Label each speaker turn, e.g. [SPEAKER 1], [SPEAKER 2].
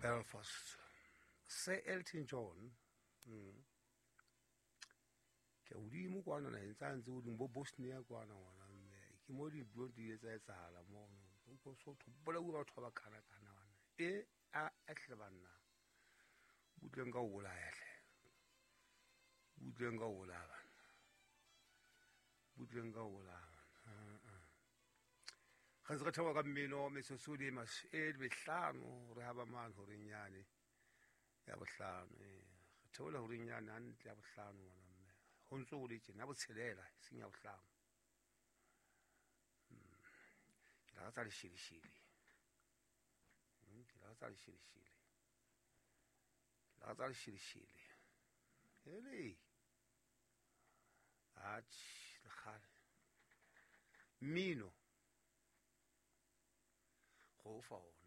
[SPEAKER 1] Belfast. Sir Elton John. Ke hodimo kwana naheng tsa ntse hodimo bo Bosnia kwana ngwana mme ke mo dintlo di ile tsa etsahala mono. Go so to bolauwe batho ba ba kana-kana bana. E a hle banna. Butleng ka ho bolaya hle. Butleng ka ho bolaya banna. Butleng ka ho bolaya banna. Re ntse re theoha ka mmino metsotso le e mehlano re haba mane horeng yane ya bohlano. Re theola horeng yane hantle ya bohlano ngwana mme. Ho ntso ho le tjena ya botshelela e seng ya bohlano. Ke lakatsa lesheleshele. Ke lakatsa lesheleshele. Ke lakatsa lesheleshele. Hele. Atjhe, lekgale. Mmino. Go fa ona.